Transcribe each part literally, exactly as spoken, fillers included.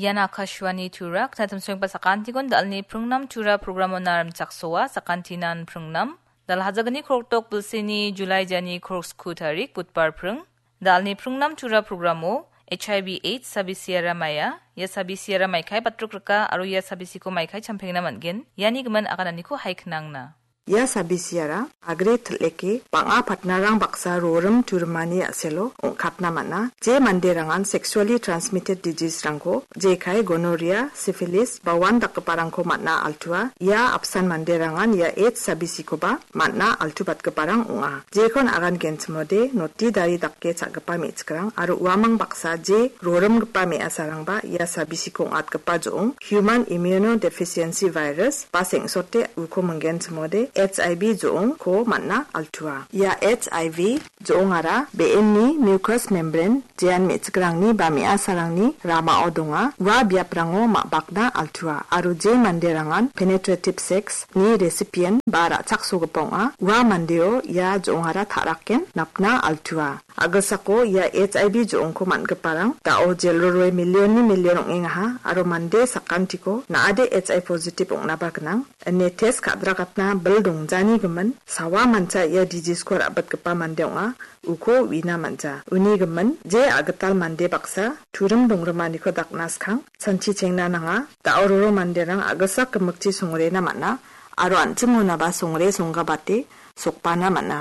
Ian Akashvani Tura, knatimsoengba sakantikon dalni pringnam Tura programo narim chaksoa, sakantinan pringnam. Dalhajagni koroktok bilsini Julai jani korok sku tarik, Budbar pring. Dalni pringnam Tura programo, H I V AIDS sabisiara maia, ia sabisiara maikai batruk rika, aro ia sabisiko maikai champengna man·gen, iani gimin agananiko haiknangna. Ia sabisiara agre til·eke bang·a patnarang baksa rorim turimani a·selo ong·katna man·a. Je manderangan sexually transmitted disease-rangko jekai gonorrhea, syphilis, ba wan dakgiparangko man·a altua. Ia apsan manderangan ia AIDS sabisikoba man·a altubatgiparang ong·a. Jekon agan genchimode noti dari dake cha·gipa me·chikrang aro uamang baksa je rorimgipa me·asarangba ia sabisiko ong·atgipa jo·ong human immunodeficiency virus ba sengsote uko minggenchimode H I V jo·ongko man·a altua. Ia H I V jo·ongara be·enni mucous membrane jean me·chikrangni ba me·asarangni ramao donga. Ua biaprango ma·bakna altua aro je manderangan penetrative sex ni recipient ba ra·chaksogipa ong·a, ua mandeo ia jo·ongara ta·raken napna altua. A·gilsako ia H I V jo·ongko man·giparang da·o jelroroe millionni million ong·engaha aro mande sakantiko na·ade H I V positive ong·naba gnang ine test ka·dragatna bil dongjani gimin sawa mancha ia disease-ko ra·bitgipa mande ong·a. Uko uina man·ja. Uni gimin, je a·gital mande baksa turim dongrimaniko dakna skang, sanchi chengna nanga. Da·o roro manderang a·gilsak gimikchi songrena man·a, aro an·ching monaba songre songgabate sokbana man·a.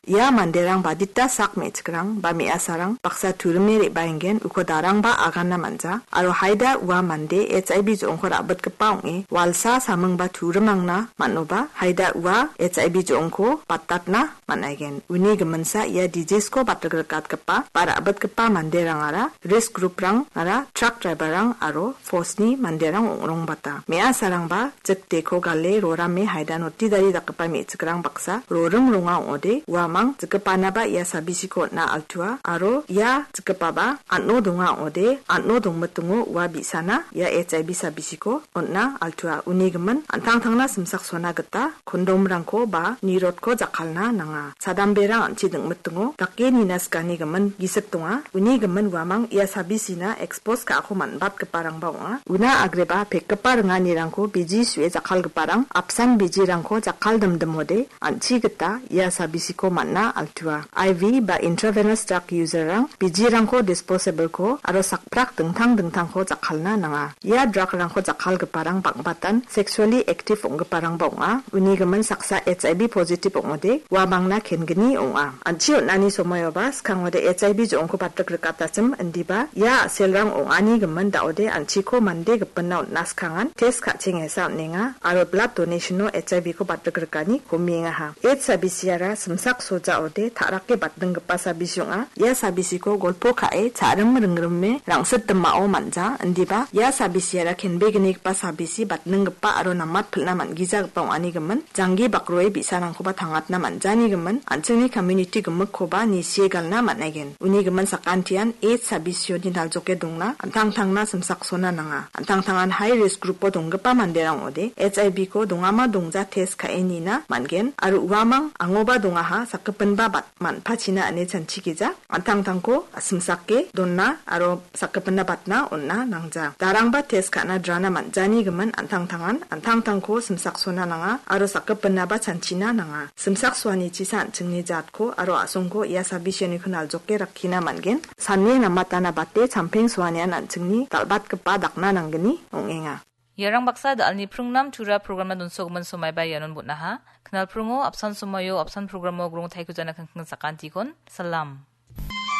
Ia manderang badita sak me·chikrang ba me·asarang baksa turime re·baengen uko darangba agana man·ja, aro haida ua mande H I V jo·ongko ra·bitgipa ong·e, walsa samingba turimangna man·oba, haida ua H I V jo·ongko batatna man·aigen. Uni giminsa ia disease-ko batrikatgipa ba ra·bitgipa manderangara risk group-rangara truck driver-rang aro force-ni manderang ong·rongbata. Me·asarangba jikteko gale rorame haida notidari dakgipa me·chikrang baksa rorim ronga ong·ode, uamang jikgipanaba ia sabisiko on·a altua aro ia jikgipaba an·o donga ong·ode, an·o dongmitingo ua bi·sana ia H I V sabisiko on·a altua. Uni gimin an·tangtangna simsaksona gita kondomrangko ba nirotko jakkalna nanga. Sadamberang an·chi dingmitingo dake nina sikani gimin gisik donga. Uni gimin uamang ia sabisina expose ka·ako man·batgiparangba ong·a. Una agreba pekgipa ringanirangko biji su·e jakkalgiparang apsan bijirangko jakkaldimdimode an·chi gita ia sabisiko man·a altua. I V ba intravenous drug user-rang bijirangko disposable-ko aro sakprak dingtang dingtangko jakkalna nanga. Ia drug-rangko jakkalgiparang bang·batan sexually active ong·giparangba ong·a. Uni gimin saksa H I V positive ong·ode, uamangna kengni ong·a. An·chi on·ani somoioba skangode H I V jo·ongko batrik rikatachim indiba ia a·selrang ong·ani gimin da·ode an·chiko mande gipinna on·na skangan test ka·chengesa on·enga aro blood donation-o H I V-ko batrik rikani komiengaha. H I V sabisiara simsak soja ode ta·rake batninggipa sabisi ong·a. Ia sabisiko golpo ka·e cha·rim ringrime rangsit dimao man·ja, indiba ia sabisiara kenbegnigipa sabisi batninggipa aro namat pil·na man·gijagipa ong·ani gimin, janggi bakroe bi·sarangkoba tangatna man·jani gimin, an·chingni community gimikkoba nisie galna man·aigen. Uni gimin sakantian AIDS sabisioni naljoke dongna, an·tangtangna simsaksona nanga. An·tangtangan high risk group-o donggipa manderang ong·ode, H I V-ko dongama dongja test ka·e nina man·gen, aro uamang angoba dongaha sakgipinba bat-, man·pachina ine chanchigija. An·tangtangko simsake donna aro sakgipinna batna on·na nangja. Darangba test ka·na drana man·jani gimin an·tangtangan an·tangtangko simsaksona nanga aro sakgipinnaba chanchina nanga. Simsaksoanichisa an·chingni jatko aro a·songko ia sabisianiko naljoke rakkina man·gen. Sane namatana bate champeng soanian an·chingni dal·batgipa dakna nanggni ong·enga. Iarang baksa dalni pringnam tura programna donsogimin somaiba ianon bon·aha. Knalpringo apsan somoio apsan programo grong taiko jana kingking sakantikon. Salam.